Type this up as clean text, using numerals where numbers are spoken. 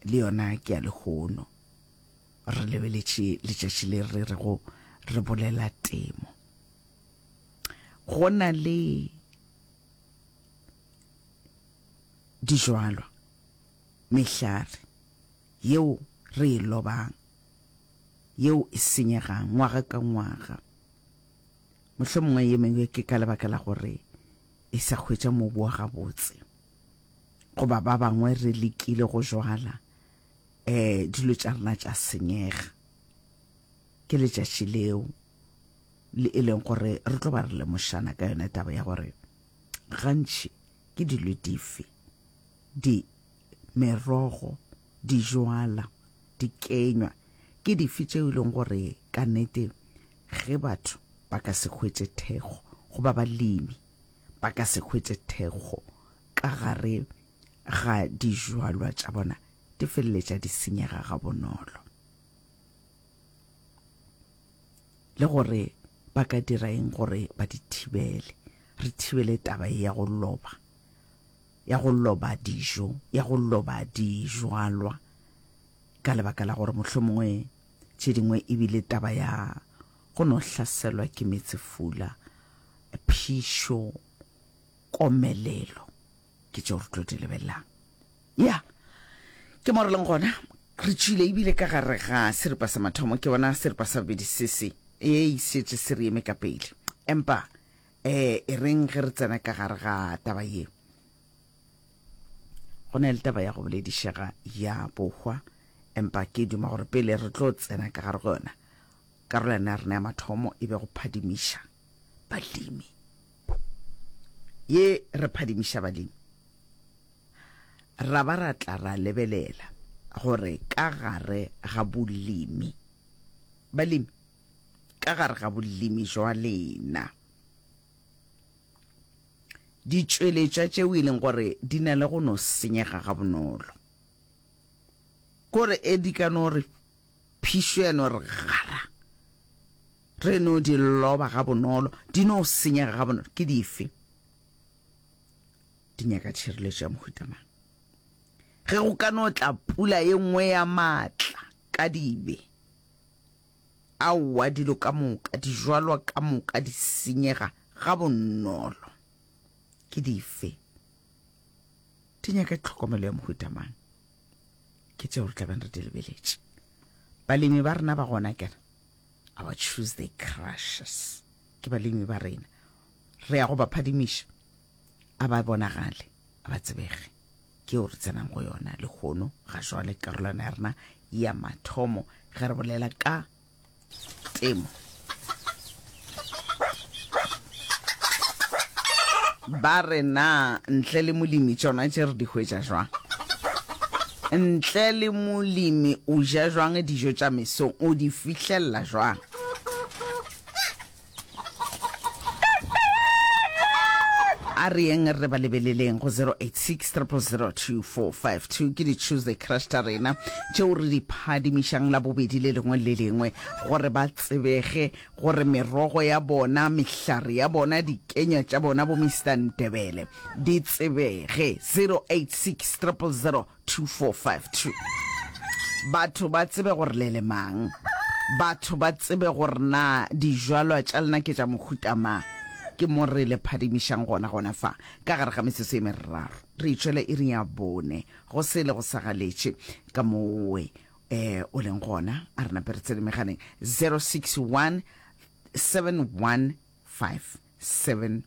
Le yona ke ya lehono. Re lebeletše letšatši le re rego re bolela temo. Go na le dijwalwa, mehlare yeo re e lobang, yeo e senyegang ngwaga ka ngwaga. Mohlomongwe ye mengwe ke ka lebaka la gore e sa hwetša mobu wa gabotse, goba ba bangwe re lekile go jwala um dilo tša rena tša senyega. Ke letšatši leo le e leng gore re tlo ba re lemošana ka yona taba ya gore gantši ke dilo dife di merogo, dijwala, dikenywa ke dife tšeo e leng gore ka nnete ge batho ba ka se hwetše thekgo goba balemi ba ka se hwetše thekgo ka gare ga dijwalwa tša bona di feleletša di senyega gabonolo. Le gore ba ka dira eng gore ba di thibele. Re thibele taba ye ya go loba, ya go loba dijo, ya go loba dijwalwa ka lebaka la gore mohlomongwe tše dingwe e bile taba ya go no hlaselwa ke meetsefula, phišo, komelelo. Ke tšeo re tlo di lebelelang. Ya, ke mo re leng gona. Re tšwile ebile ka gare ga seripa sa mathomo, ke bona seripa sa bobedi se se e šetše se re eme ka pele. Empa um e reng ge re tsena ka gare ga taba ye, go na le taba ya go boledišega ya bohwa, empa ke duma gore pele re tlo tsena ka gare go yona, karolwana ya rena ya mathomo e be go phadimiša balemi. Ye re phadimiša balemi, ra ba ra tla ra lebelela gore ka gare ga bolemi, balemi, ka gare ga bolemi jwa lena, ditšweletšwa tšeo e leng gore di na le go no senyega gabonolo, kore e di ka no re phišo ya no re gara, re no di loba gabonolo, di no senyega gabonolo, ke dife? Di nyaka tšhireletšo ya mohuta mang? Ge go ka no tla pula ye nngwe ya maatla ka dibe, aowa, dilo ka moka, dijwalwa ka moka di senyega gabonolo. Ke dife? Di nyaka tlhokomelo ya mohuta mang? Ke tšeo re tla beng re di lebeletše. Balemi ba rena ba gona kere our Tuesday crushes ke balemi ba rena. Re ya go ba phadimiša, a ba bonagale, a ba tsebege. Ke yeo re tsenang go yona lehono ga jwale, karolwana ya rena ya mathomo ge re bolela ka temo. Ba re na ntle le molemi tšona tše re di hwetša jwang? Ntle le molemi o ja jwang dijo tša mesong? O di fihlelela jwang? A re yeng re ba lebeleleng go 086 000 2452. Ke di-Tuesday Crush tša rena tšeo re di phadimišang Labobedi le lengwe le lengwe gore ba tsebege gore merogo ya bona, mehlare ya bona, dikenywa tša bona bo Mister Ndebele di tsebege. 086 000 2452 Batho ba tsebe gore le le mang. Batho ba tsebe gore na dijwalwa tša lena ke tša mohuta mang. Ke mo re le phadimišang gona gona fa, ka gare ga metsotso e meraro. Re itšwele iring ya bone, go se le go sa galetše ka mowe eh o leng gona. A re nape re tsene megaleng 061 715 7100.